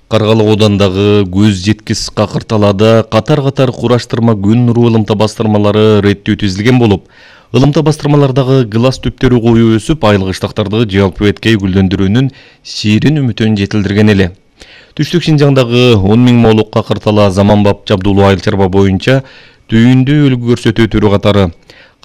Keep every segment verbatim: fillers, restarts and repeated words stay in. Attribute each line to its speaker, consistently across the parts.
Speaker 1: Каргалы оодандагы көз жеткис Какырталада катар-катар кураштырма күн нуру ылымта бастырмалары реттөө түзүлгөн болуп, ылымта бастырмалардагы глаз түптөрү коюу өсүп, айлык ыштактарды жалпы эткей гүлдөндүрүүнүн ширин үмүтүн жетилдирген эле. Түштүк Шинжаңдагы он миң молук Какыртала заманбап жабдуулуу айыл чарба боюнча түйүндүү үлгү көрсөтүү түрү катары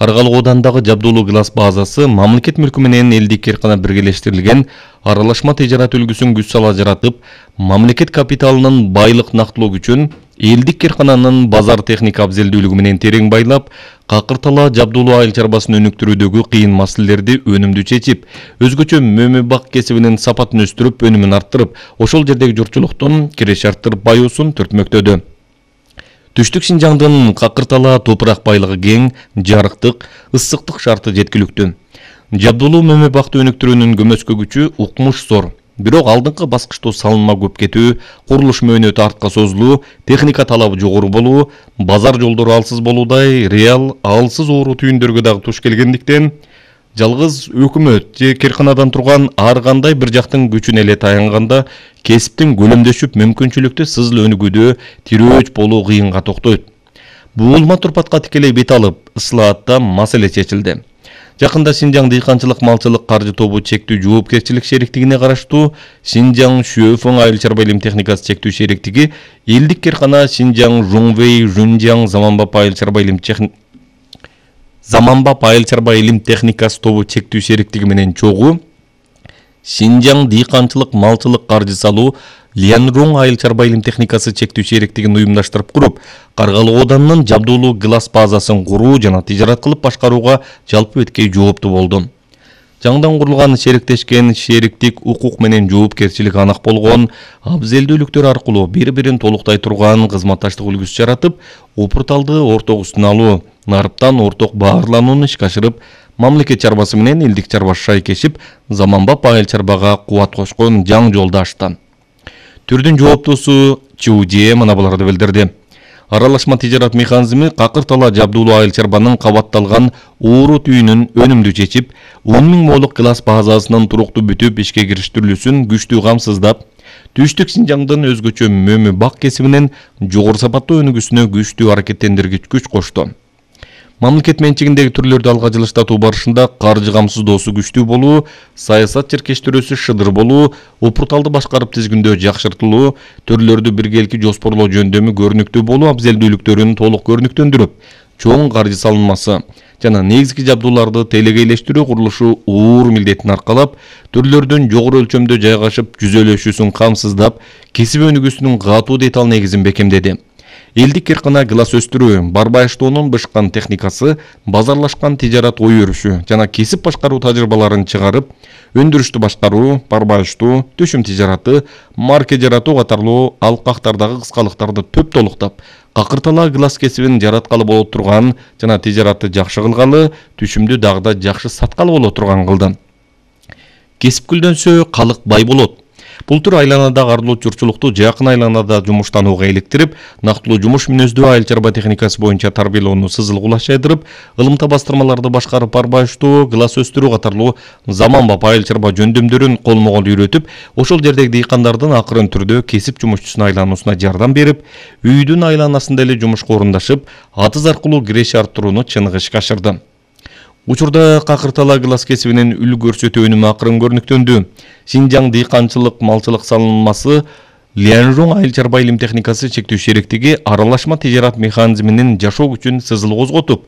Speaker 1: Каргалы оодандагы жабдуулуу глаз базасы мамлекет мүлкү менен элдик кыркына биргелештирилген аралашма тижарат үлгүсүн күч сала жаратып, мамлекет капиталынын байлык нактылоо күчүн элдик кыркынанын базар техника абзелдүүлүгү менен терең байлап, Какыртала жабдуулуу айыл чарбасын өнүктүрүүдөгү кыйын маселелерди өнүмдүү чечип, өзгөчө мөмө бак кесибинин сапатын өстүрүп, өнүмүн арттырып, ошол жердеги журтчулуктун киреше арттырып баюусун түртмөктөдү. Түштүк Шинжаңдын Какыртала топурак байлыгы кең, жарыктык, ысыктык шарты жеткиликтүү. Жабдуулуу мөмө бакты өнүктүрүүнүн көмөскө күчү укмуш зор. Бирок алдыңкы баскычтуу салынма көп кетүү, курулуш мөөнөтү артка созулуу, техника талабы жогору болуу, базар жолдору алсыз болуудай реал алсыз оору түйүндөргө дагы туш келгендиктен, жалгыз өкмөт же кыркынадан турган ар кандай бир жактын күчүнө эле таянганда кесиптин көлөмдөшүп мүмкүнчүлүктүү сызыл өнүгүүдө тирөөч болуу кыйынга токтойт. Буулма турпатка тикелей бет алып, ысылаатта маселе чечилди. Жакында Шинжаң дыйканчылык малчылык каржы тобу чектүү жоопкерчилик шериктигине караштуу Шинжаң Шүйөфөң айыл чарба илим техникасы чектүү шериктиги элдик кыркына Шинжаң Жуңвей Жунжаң заманбап айыл чарба илим заманбап айыл чарба илим техникасы тобу чектүү шериктиги менен чогуу Шинжаң дыйканчылык малчылык каржы салуу Лянруң айыл чарба илим техникасы чектүү шериктигин уюмдаштырып куруп, Каргалы оодандын жабдуулуу глаз базасын куруу жана тижарат кылып башкарууга жалпы эткей жооптуу болду. Жаңдан курулган шериктешкен шериктик укук менен жоопкерчилик анак болгон, абзелдүүлүктөр аркылуу бири-бирин толуктай турган кызматташтык үлгүсү жаратып, опурталды орток үстүнө алуу, нарыптан орток баарланууну ишке ашырып, мамлекет чарбасы менен элдик чарба шайкешип, заманбап айыл чарбага кубат кошкон жаңы жолду ачты. Түрдүн жооптуусу ЧУД мына буларды билдирди. Аралашма тижарат механизми Какыртала жабдуулуу айыл чарбанын кабатталган оору түйүнүн өнүмдүү чечип, он миң молук глаз базасынын туруктуу бүтүп ишке кириштирилүүсүн күчтүү камсыздап, Түштүк Шинжаңдын өзгөчө мөмө бак кесибинин жогору сапаттуу өнүгүүсүнө күчтүү аракеттендиргич күч кошту. Мамлекет менчигиндеги түрлөрдү алга жылыштатуу барышында каржы камсыздоосу күчтүү болуу, саясат черкештирүүсү шыдыр болуу, опурталды башкарып тизгиндөө жакшыртылуу, төрлөрдү биргелики жоспорлоо жөндөмү көрүнүктүү болуу абзелдүүлүктөрүн толук көрүнүктөндүрүп, чоң каржы салынмасы жана негизги жабдууларды телегейлештирүү курулушу оор милдетин аркалап, төрлөрдүн жогору өлчөмдө жайгашып жүзөлөшүүсүн камсыздап, кесип өнүгүүсүнүн катуу деталь негизин бекемдеди. Элдик кыркына глаз өстүрүү, барбайыштоонун бышкан техникасы, базарлашкан тижарат ой өрүшү жана кесип башкаруу тажрыйбаларын чыгарып, өндүрүштү башкаруу, барбайыштоо, төшүм тижараты, марке жаратуу катарлуу алкактардагы кыскалыктарды төп толуктап, Какыртала глаз кесибин жараткалы боло турган жана тижаратты жакшы кылгалы, түшүмдү дагы да жакшы саткалы боло турган кылды. Кесип гүлдөнсө, калык бай болот. Бул түр айланадагы арлуу журтчулукту жакын айланада жумуштанууга иликтирип, нактылуу жумуш мүнөздүү айыл чарба техникасы боюнча тарбиялоону сызыл кулаш жайдырып, ылымта бастырмаларды башкарып барбайыштоо, глаз өстүрүү катарлуу заманбап айыл чарба жөндөмдөрүн колмо-кол үйрөтүп, ошол жердеги дыйкандардын акырын түрдө кесип жумушчусуна айлануусуна жардам берип, үйдүн айланасында эле жумушка орундашып, атыз аркылуу киреше арттырууну чыныгы ишке ашырды. Учурда Какыртала глаз кесибинин үлгү көрсөтүү өнүмү акырын көрүнүктөндү. Шинжаң дыйканчылык малчылык салынмасы Лянруң айыл чарба илим техникасы чектүү шериктиги аралашма тижарат механизминин жашоо күчүн сызыл козготуп,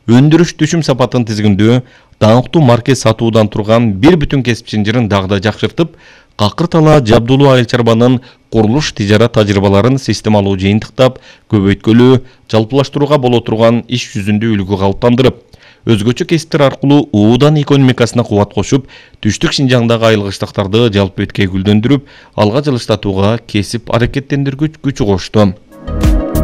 Speaker 1: өндүрүш түшүм сапатын тизгиндөө, даңктуу марке сатуудан турган бир бүтүн кесип чынжырын дагы да жакшыртып, Какыртала жабдуулуу айыл чарбанын курулуш тижарат тажрыйбаларын системалуу жыйынтыктап, көбөйткөлүү, жалпылаштырууга боло турган иш жүзүндө үлгү калыптандырып, өзгөчө кесиптер аркылуу оодан экономикасына кубат кошуп, Түштүк Шинжаңдагы айыл кыштактарды жалпы эткей гүлдөндүрүп, алга жылыштатууга кесип аракеттендиргүч күч кошту.